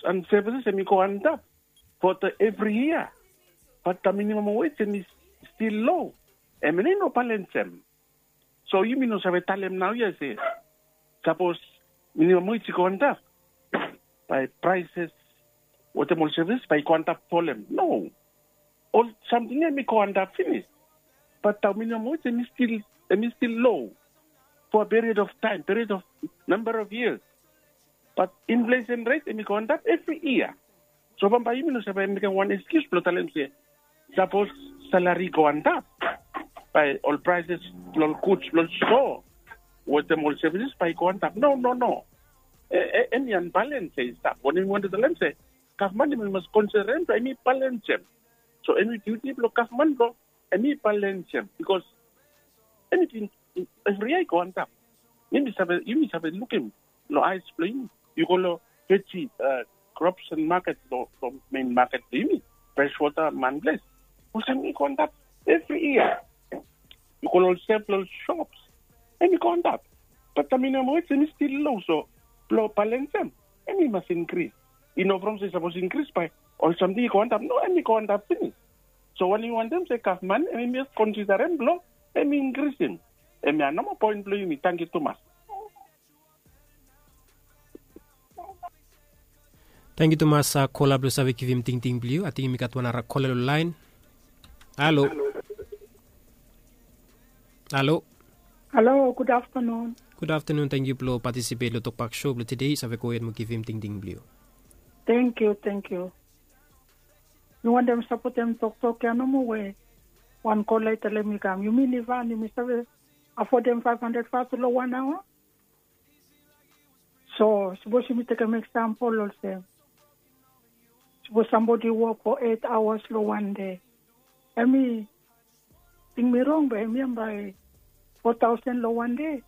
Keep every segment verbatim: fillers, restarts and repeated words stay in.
and services em i go antap for the every year. But the minimum wage em i still low. Em i no balance em. So yumi no save talem nau ya se sapos minimum wage i go antap, bae prices wetem ol services bae i go antap folem. No. Ol samting ya em i go antap finis. But the minimum wage em i still em i still low for a period of time, period of number of years. But inflation rate em i go antap every year. So bambae yumi no save mekem wan excuse blong talem se sapos salary i go antap, bae ol prices blong ol goods blong ol store wetem ol services bae i go antap. No, no, no. Em i unbalance ya i stap. Wanem mi wantem talem se gavman em i mas consider em, so em i balance em. So em i duty blong gavman blong em i balance em, because anything every year i go antap. Yumi save yumi save lukim long eyes blong yumi. Yu go long veggie, crops and market, long main market blong yumi, fresh water, man place, olsem i go antap every year. Yu go long ol sef long ol shops, em i go antap. But the minimum wage em i still low, so blong balance em, em i mas increase. I no from se sapos increase bae ol samting i go antap. No, em i go antap finis. So wanem mi wantem se gavman em i mas consider em blong em i increase em. Em ya nomo point blong yumi. Tangkiu tumas. Tangkiu tumas kola blong save givim tingting blong yu. Ating yumi gat wan nara kola long laen. Halo. Halo. Halo, gud aftanun. Gud aftanun. Tangkiu blong patisipet long tokbak sho blong tede. Yu save gohed mo givim tingting blong yu. Tangkiu, tangkiu. Mi wantem sapotem toktok ya nomo we wan kola i talem i kam. Yumi nivan yumi save afodem faef handred fatu long wan aoa. So sapos yumi tekem eksampol olsem, sapos sambodi i wok fo eit aoas long wan de, em i ting mi rong be em ya bae fo taosen long wan de.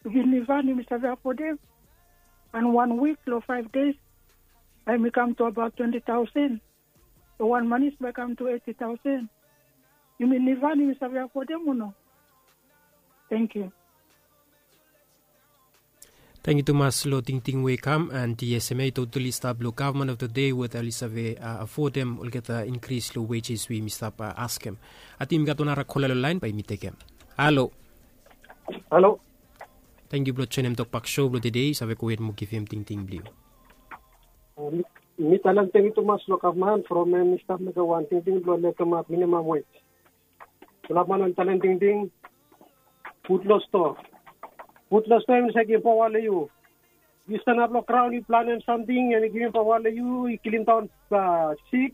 Yumi nivan yumi save afodem? An wan wik long faef des bae mi kam tu abaot twenti taosen. Long wan manis bae kam tu eti taosen. Yumi nivan yumi save afodem o no? Tangkiu. Tangkiu tumas long tingting we i kam. And yes, em ya i totali stap long gavman of the day weta oli save afodem olgeta inkris long wejes we yumi stap askem. Ating yumi gat wan nara kola long laen bae yumi tekem. Halo. Halo. Tangkiu blong joenem tokbak sho blong tede. Yu save gohed mo givim tingting blong yu. Mi talem tangkiu tumas long gavman from em i stap mekem wan tingting blong lekemap minimam wej. Fulap man oli talem tingting, put long stoa. Put long stoa em i save givim paoa long yu. Yu stanap long graon yu planem samting em i givim paoa long yu, i kilimdaon sik.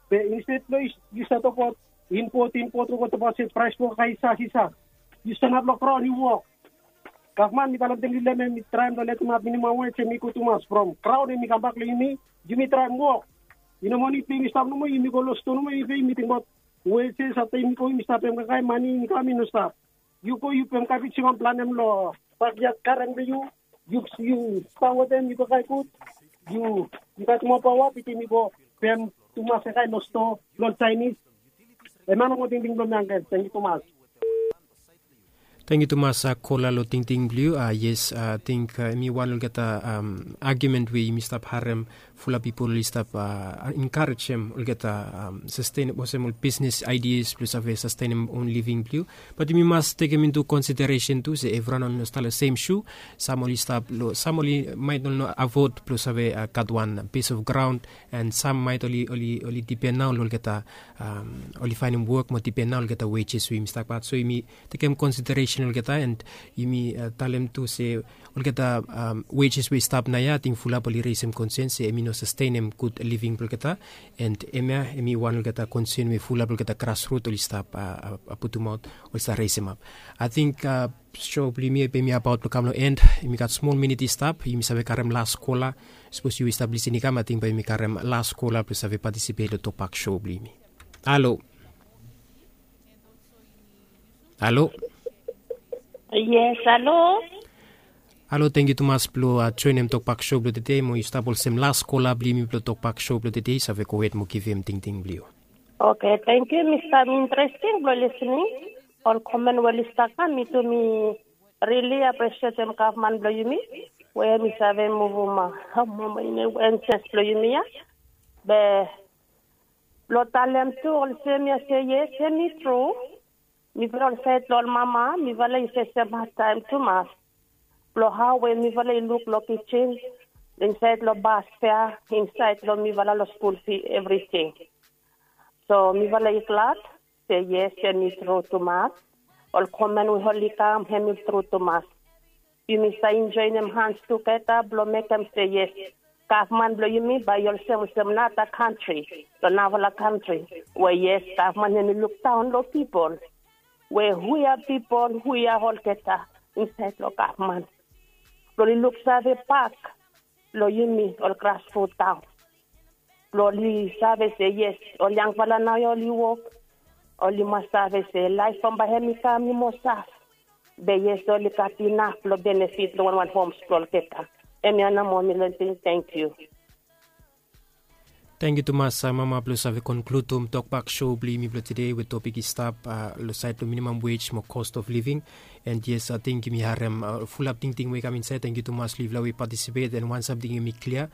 Be insted blong yu save tokbaot impot, impot, tokbaot se praes blong olgeta i save, i save. Yu stanap long graon yu wok. Gavman mi talem tangkiu long em, em i traem long lekemap minimam wej, em i gud tumas from graon em i kambak long yumi. Yumi traem wok. I no mani pe yumi stap nomo, yumi go long stoa nomo, yumi tingbaot wejes, afta yumi go yumi stap pem kaikai, mane i kam i no stap. Yu go yu pem kabej, yu kam planem long bakyad garen blong yu. Yu yu stap wetem yu kaikai gud. Yu yu gat moa paoa bitim yu go pem tumas kaikai long stoa blong Jaenis. Em ya nomo tingting blong mi. Tangkiu tumas. Tangkiu tumas kola long tingting blong yu. Yes, ating em i wan olgeta agiumen we yumi stap harem. Fulap pipol oli stap enkarejem olgeta sastenem olsem ol bisnes aidias blong save sastenem on living blong yu. Bat yumi mas tekem intu konsideresen tu se evriwan oli no stap long sem shu. Sam oli stap long, sam oli maet oli no afod blong save gat wan pis of graon. And sam maet oli, oli, oli dipen nao long olgeta, oli faenem wok mo dipen nao long olgeta wejes we yumi stap gat. So yumi tekem konsideresen olgeta, and yumi talem tu se olgeta wejes we i stap naoia, ating fulap oli resem konsen se em i no sastenem gud living blong olgeta. And em ya em i wan olgeta konsen we fulap olgeta grasrut oli stap putumaot, oli stap resemap. Ating sho blong yumi em i abaot blong kam long en. Yumi gat smol minit i stap, yumi save karem las kola. Sapos yu i stap lisin i kam, ating bae yumi karem las kola blong save patisipet long tokbak sho blong yumi. Halo. Halo. Yes, halo. Halo, tangkiu tumas blong joenem tokbak sho blong tede, mo yu stap olsem las kola blong yumi blong tokbak sho blong tede. Yu save gohed mo givim tingting blong yu. Oke, tangkiu mi stap interesting blong lisening ol komen we oli stap kam. Mi tu mi rili apresietem gavman blong yumi. we mi save muvum mama ine we enses blong yumi ya. Be blong talem tu olsem ya se yes, hemi tru. Mifala ol saed long ol mama mifala i fesem hadtaem tumas blong hao we mifala i luk long kijin, insaed long bas fea, insaed long mifala long skul fi evriting. So mifala i glad se yes, hemi tru tumas. Ol komen we oli kam hemi tru tumas. Yumi save joenem hans tugeta blong mekem se yes, gavman blong yumi bae i olsem olsem nara kantri, long narafala kantri we yes, gavman hemi lukdaon long pipol we hu ya pipol hu ya olgeta insaed long gavman blong oli luksave bak long yumi ol grasrut daon blong oli save se yes, ol yangfala nao ya oli wok, oli mas save se laef bambae hemi kam i moa saf. Be yes, oli gat inaf blong benefit long wanwan homs blong olgeta. Hemia nao moa mi leting. Tangkiu. Tangkiu tumas mama blong save konkludim tokbak sho blong yumi blong tede we topik i stap long saed blong minimam wej mo cost of living. And yes, ating yumi harem fulap tingting we i kam insaed. Tangkiu tumas long yufala we i patisipet. And wan samting hemi klia,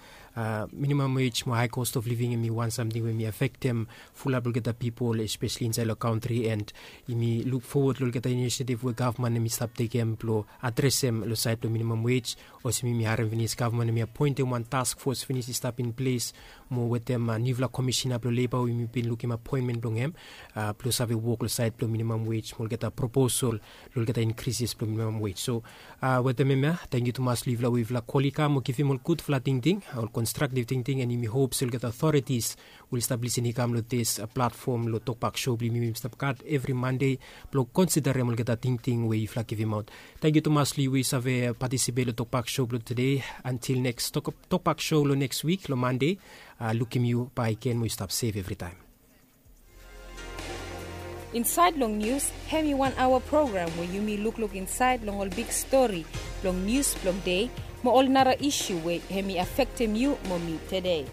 minimam wej mo hae cost of living hemi wan samting we hemi afektem fulap olgeta pipol, espeseli insaed long kantri. And yumi luk fowod long olgeta inisiativ we gavman hemi stap tekem blong adresem long saed blong minimam wej. Olsem yumi harem finis, gavman hemi apoentem wan task fos finis i stap in ples mo wetem niufala komisina blong leba we yumi bin lukim apoentmen blong hem blong save wok long saed blong minimam wej mo olgeta proposol long olgeta inkrises blong minimam wej. So wetem hemia, tangkiu tumas long yufala we yufala kol i kam mo givim ol gudfala tingting, ol konstraktiv tingting. And yumi hop se olgeta otoretis we oli stap lisin i kam long dis platfom long tokbak sho blong yumi we yumi stap gat evri Mande blong konsiderem olgeta tingting we yufala givimaot. Tangkiu tumas long yu we yu save patisipet long tokbak sho blong tede. Antil neks tokbak sho long neks wik long Mande, lukim yu bae gen mo yu stap sef evritaem. Insaed long nius, hemi wan aoa program we yumi lukluk insaed long ol big stori blong nius blong dei mo ol nara isu we hemi afektem yu mo mi tede.